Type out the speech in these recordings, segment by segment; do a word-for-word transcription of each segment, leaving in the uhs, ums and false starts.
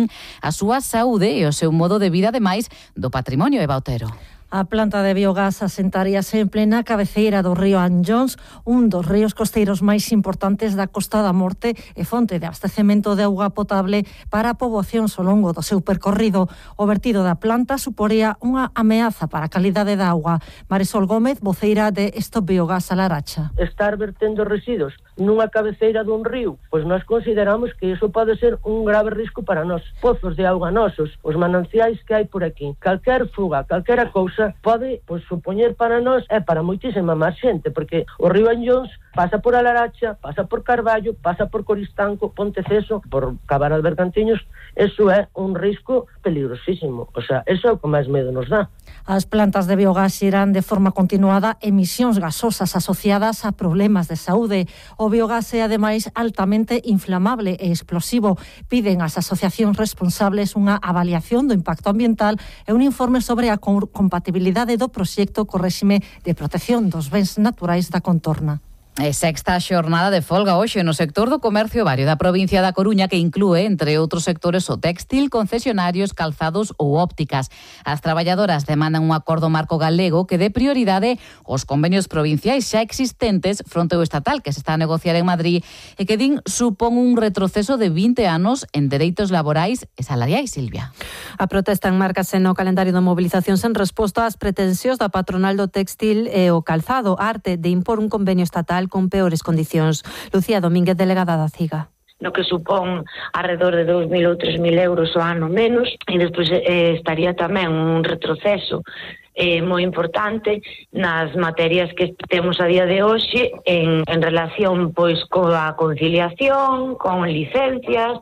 din a súa saúde e o seu modo de vida, ademais do patrimonio. Eva Otero. A planta de biogás asentaríase en plena cabeceira do río Anllóns, un dos ríos costeiros máis importantes da Costa da Morte e fonte de abastecemento de auga potable para a poboación ao longo do seu percorrido. O vertido da planta suporía unha ameaza para a calidade da auga. Marisol Gómez, voceira de Stop Biogás a Laracha. Estar vertendo residuos nunha cabeceira dun río, pois nós consideramos que iso pode ser un grave risco para nós. Pozos de auga nosos, os mananciais que hai por aquí, calquer fuga, calquera cousa pode pois, supoñer para nós e para moitísima máis xente, porque o río Anllóns pasa por a Laracha, pasa por Carballo, pasa por Coristanco, Ponteceso, por Cabana de Bergantiños. Eso é un risco peligrosísimo. O sea, eso é o que máis medo nos dá. As plantas de biogás xeran de forma continuada emisións gasosas asociadas a problemas de saúde. O biogás é, ademais, altamente inflamable e explosivo. Piden ás asociacións responsables unha avaliación do impacto ambiental e un informe sobre a compatibilidade do proxecto co réxime de protección dos bens naturais da contorna. É sexta xornada de folga hoxe no sector do comercio vario da provincia da Coruña, que inclúe, entre outros sectores, o téxtil, concesionarios, calzados ou ópticas. As traballadoras demandan un acordo marco galego que dé prioridade aos convenios provinciais xa existentes fronte ao estatal que se está a negociar en Madrid e que din supón un retroceso de vinte anos en dereitos laborais e salariais. Silvia. A protesta enmárcase no calendario de mobilizacións en resposta ás pretensións da patronal do téxtil e o calzado, arte de impor un convenio estatal con peores condicións. Lucía Domínguez, delegada da CIGA. No que supón alrededor de dous mil ou tres mil euros ao ano menos, e despois eh, estaría tamén un retroceso eh, moi importante nas materias que temos a día de hoxe en, en relación pois coa conciliación, con licencias,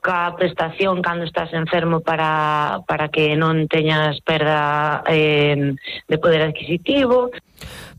ca prestación cando estás enfermo para, para que non teñas perda eh, de poder adquisitivo.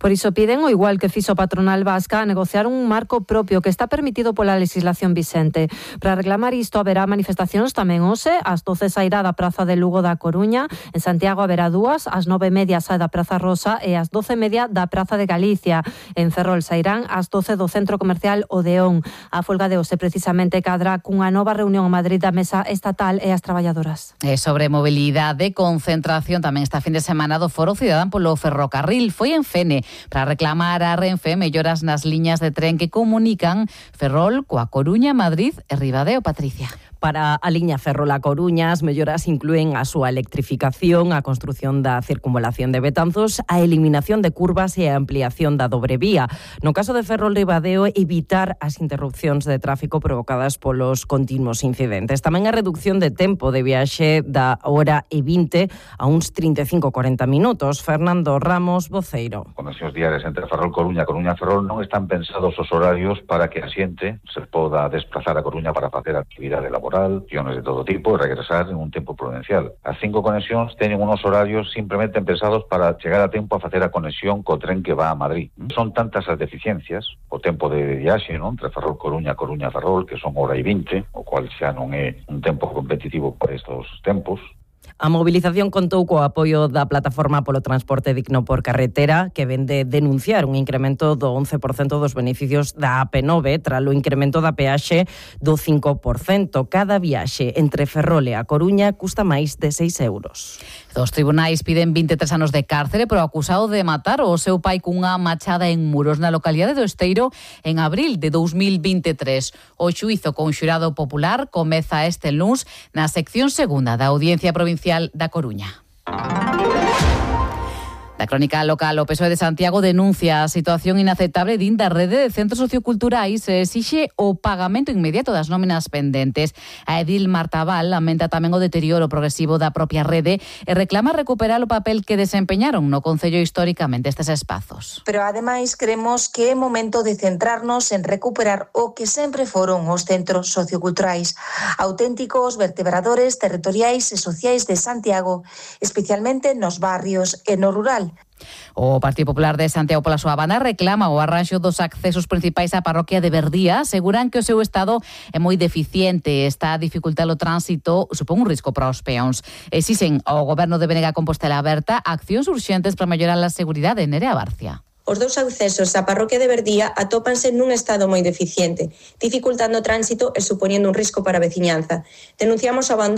Por iso piden, o igual que fixo a patronal vasca, a negociar un marco propio que está permitido pola legislación vixente. Para reclamar isto haberá manifestacións tamén hoxe, ás doce sairá da Praza de Lugo da Coruña, en Santiago haberá dúas, ás nove e media sai da Praza Rosa e ás doce e media da Praza de Galicia. En Ferrol sairán ás doce do Centro Comercial Odeón. A folga de hoxe precisamente cadra cunha nova reunión en Madrid da Mesa Estatal e as traballadoras. E sobre mobilidade, concentración tamén esta fin de semana do Foro Cidadán polo ferrocarril. Foi en Fene para reclamar a Renfe melloras nas liñas de tren que comunican Ferrol coa Coruña, Madrid e Ribadeo. Patricia. Para a liña Ferrol-A Coruña, as melloras inclúen a súa electrificación, a construción da circunvalación de Betanzos, a eliminación de curvas e a ampliación da dobre vía. No caso de Ferrol-Ribadeo, evitar as interrupcións de tráfico provocadas polos continuos incidentes. Tamén a reducción de tempo de viaxe da hora e vinte a uns trinta e cinco a corenta minutos. Fernando Ramos, voceiro. Conexións diarias entre Ferrol-Coruña e Coruña-Ferrol non están pensados os horarios para que a xente se poda desplazar a Coruña para facer actividade laboral, acciones de todo tipo, e regresar en un tempo prudencial. As cinco conexións teñen unos horarios simplemente pensados para chegar a tempo a facer a conexión co tren que va a Madrid. Son tantas as deficiencias, o tempo de viaxe, non, entre Ferrol-Coruña, Coruña-Ferrol, que son hora e vinte, o cual xa non é un tempo competitivo para estos tempos. A mobilización contou co apoio da Plataforma polo Transporte Digno por Carretera, que ven de denunciar un incremento do once por cento dos beneficios da A P nove tras o incremento da peaxe do cinco por cento. Cada viaxe entre Ferrol e a Coruña custa máis de seis euros. Os tribunais piden vinte e tres anos de cárcere pero acusado de matar o seu pai cunha machada en Muros, na localidade do Esteiro, en abril de dous mil vinte e tres. O xuízo con xurado popular comeza este luns na sección segunda da Audiencia Provincial da Coruña. Da crónica local, o P S O E de Santiago denuncia a situación inaceptable din da rede de centros socioculturais e exixe o pagamento inmediato das nóminas pendentes. A edil Marta Val lamenta tamén o deterioro progresivo da propia rede e reclama recuperar o papel que desempeñaron no Concello históricamente estes espazos. Pero ademais creemos que é momento de centrarnos en recuperar o que sempre foron os centros socioculturais, auténticos vertebradores territoriais e sociais de Santiago, especialmente nos barrios e no rural. O Partido Popular de Santiago pola súa banda reclama o arranxo dos accesos principais á parroquia de Verdía. Aseguran que o seu estado é moi deficiente, está a dificultar o tránsito, supón un risco para os peóns. Exixen ao Goberno de Benega Compostela Aberta accións urxentes para mellorar a seguridade. Nerea Barcia. Os dous accesos á parroquia de Verdía atópanse nun estado moi deficiente, dificultando o tránsito e supoñendo un risco para a veciñanza. Denunciamos o abandono